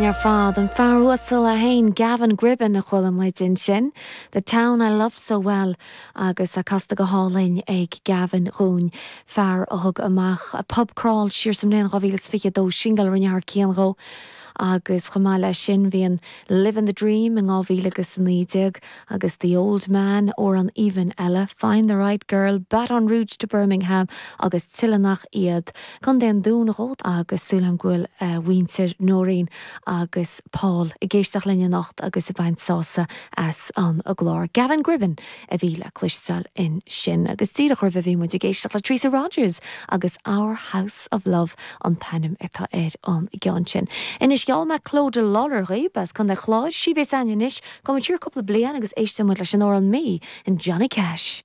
ar fad. An fear uasal é féin, Gavin Gribbin, a chuala muid ansin. The Town I Loved So Well agus é casta go hálainn ag Gavin dhúinn, fear a thug amach Pub Crawl siar sa mbliain 2022, singil a rinne thar cionn dhó agus chomh maith leis sin bhí an Livin' the Dream in 2019 agus The Old Man, amhrán aoibhinn eile, Find the Right Girl, Baton Rouge to Birmingham agus tuilleadh nach iad. Contae an Dúin dhó agus súil agam go bhfuil a mhuintir Nóirín agus Paul ag éisteacht linn anocht agus ag baint sásamh as an gclár. Gavin Gribbin a bhí le cloisteáil ansin agus díreach roimhe bhí muid ag éisteacht le Teresa Rogers agus Our House of Love an t-ainm atá ar an gceann sin. Anois gheall mé Clodagh Lawlor dhaoib as Contae Chláir, sí a bheas againn anois, Gabhfaidh muid siar cúpla bliain agus éistfidh muid leis an amhrán Me and Johnny Cash.